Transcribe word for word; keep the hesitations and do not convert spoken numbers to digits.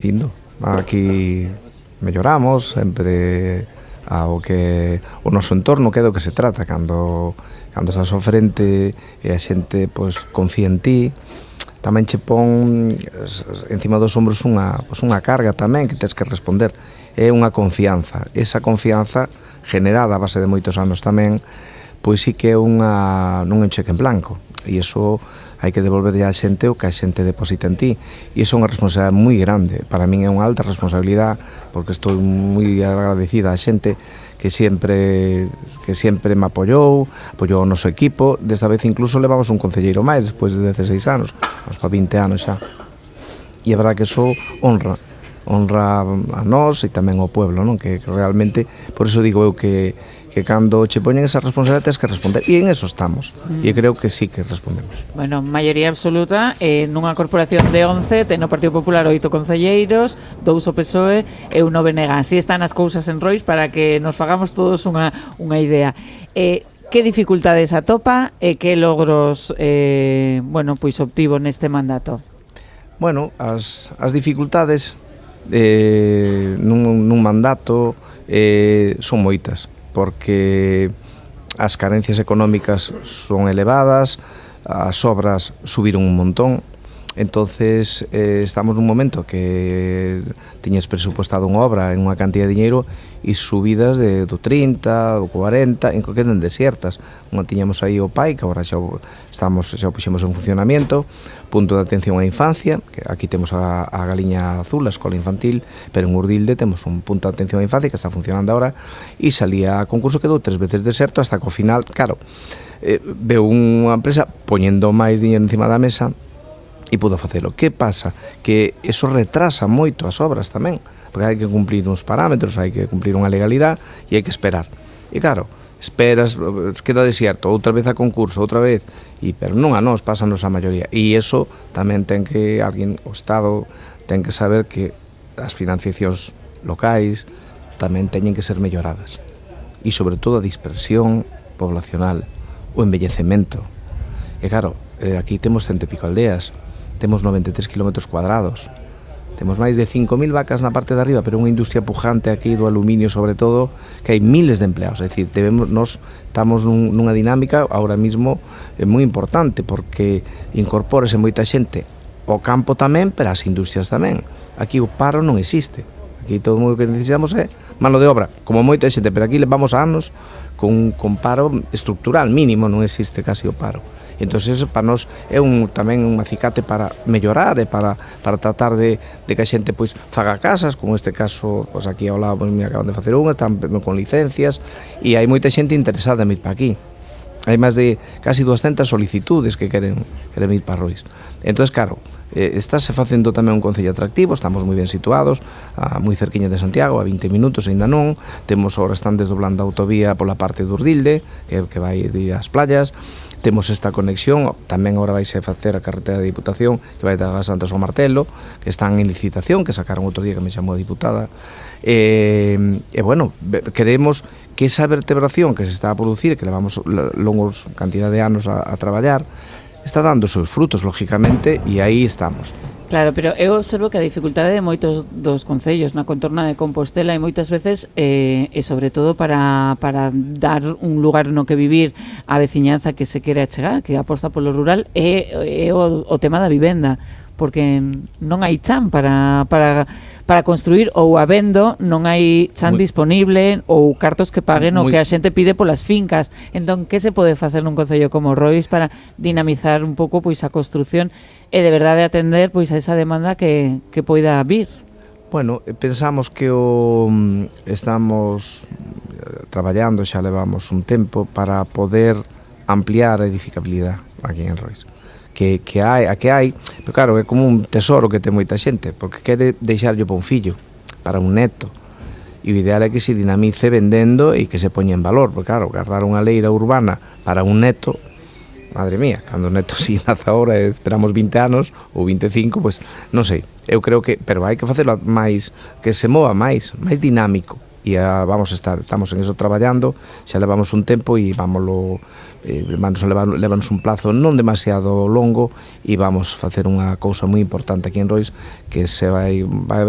Findo. Aquí melloramos sempre ao que o noso entorno, que é do que se trata cando cando estás ao frente e a xente pois confía en ti. Tamén che pon encima dos ombros unha, pois unha carga tamén que tens que responder. É unha confianza. Esa confianza generada a base de moitos anos tamén, pois sí que é unha, non é un cheque en blanco. E iso hai que devolverlle á xente o que a xente deposita en ti. E iso é unha responsabilidade moi grande. Para min é unha alta responsabilidade, porque estou moi agradecida á xente que sempre que sempre me apoiou, apoiou o noso equipo. Desta vez incluso levamos un concelleiro máis, despois de dezaseis anos, vamos para vinte anos xa. E é verdad que iso honra, honra a nós e tamén ao pueblo, non? Que, que realmente, por iso digo eu que que cando che poñen esa responsabilidade tens que responder, e en eso estamos, mm. e creo que sí que respondemos. Bueno, maioría absoluta, eh, nunha corporación de once, ten o Partido Popular oito concelleiros, dous o P S O E e un o B N G. Así están as cousas en Rois para que nos fagamos todos unha, unha idea. Eh, que dificultades atopa e que logros eh, bueno, pois obtivo neste mandato? Bueno, as, as dificultades eh, nun, nun mandato eh, son moitas, porque as carencias económicas son elevadas, as obras subiron un montón. Entonces eh, estamos nun momento que tiñes presupuestado unha obra en unha cantidad de dinheiro e subidas de, do trinta, do cuarenta, en que queden desiertas. Unha tiñamos aí o P A I, que agora xa o, estamos, xa o puxemos en funcionamento, punto de atención á infancia, que aquí temos a, a Galiña Azul, a escola infantil, pero en Urdilde temos un punto de atención á infancia que está funcionando agora, e salía a concurso, quedou tres veces deserto, hasta que ao final, claro, eh, veo unha empresa poñendo máis dinheiro encima da mesa, e pudo facelo. Que pasa? Que eso retrasa moito as obras tamén, porque hai que cumplir uns parámetros, hai que cumplir unha legalidade e hai que esperar. E claro, esperas, queda desierto, outra vez a concurso, outra vez, e pero non a nós, pásanos a maioría. E iso tamén ten que alguén, o Estado, ten que saber que as financiacións locais tamén teñen que ser melloradas. E sobre todo a dispersión poblacional, o envellecemento. E claro, aquí temos cento e pico aldeas, temos noventa e tres kilómetros cuadrados, temos máis de cinco mil vacas na parte de arriba, pero unha industria pujante aquí do aluminio sobre todo, que hai miles de empleados. É dicir, debemos, nos estamos nun, nunha dinámica ahora mismo é moi importante, porque incorpórese moita xente ao campo tamén, pero as industrias tamén. Aquí o paro non existe, aquí todo o que necesitamos é mano de obra, como moita xente, pero aquí levamos anos con, con paro estructural mínimo, non existe casi o paro. Entón, eso para nós é un, tamén un acicate para mellorar e para, para tratar de, de que a xente pois, faga casas, como este caso, pois, aquí ao lado pois, me acaban de facer unha, están con licencias, e hai moita xente interesada en ir para aquí. Hai máis de casi doscientas solicitudes que queren, queren ir para Rois. Entón, claro, eh, estáse facendo tamén un concello atractivo, estamos moi ben situados, a, moi cerquiña de Santiago, a vinte minutos, ainda non, temos ahora están desdoblando a autovía pola parte de Urdilde, que, que vai de as playas, temos esta conexión, tamén agora vaise facer a carretera de Diputación, que vai das Santas ao Martelo, que están en licitación, que sacaron outro día que me chamou a diputada, e, e bueno, queremos que esa vertebración que se está a producir, que levamos longos cantidad de anos a, a traballar, está dando os seus frutos, lógicamente, e aí estamos. Claro, pero eu observo que a dificultade de moitos dos concellos na contorna de Compostela e moitas veces, eh, e sobre todo para, para dar un lugar no que vivir a veciñanza que se quere achegar, que aposta polo rural, é, é o, o tema da vivenda, porque non hai chan para, para, para construir, ou habendo non hai chan muy, disponible ou cartos que paguen muy, o que a xente pide polas fincas. Entón, que se pode facer nun concello como Rois para dinamizar un pouco pois a construción e de verdade atender pois a esa demanda que, que poida vir? Bueno, pensamos que o estamos traballando, xa levamos un tempo para poder ampliar a edificabilidade aquí en Rois. Que, que hai, a que hai, pero claro, é como un tesoro que ten moita xente, porque quere deixarlo para un fillo, para un neto, e o ideal é que se dinamice vendendo e que se poña en valor, porque claro, guardar unha leira urbana para un neto, madre mía, cando o neto si nace agora e esperamos vinte anos ou vinte e cinco, pois non sei, eu creo que, pero hai que facelo máis, que se mova máis, máis dinámico, e a, vamos a estar, estamos en eso traballando, xa levamos un tempo e vámoslo eh, vamos a levar, levarnos un plazo non demasiado longo e vamos facer unha cousa moi importante aquí en Rois, que se vai, vai haber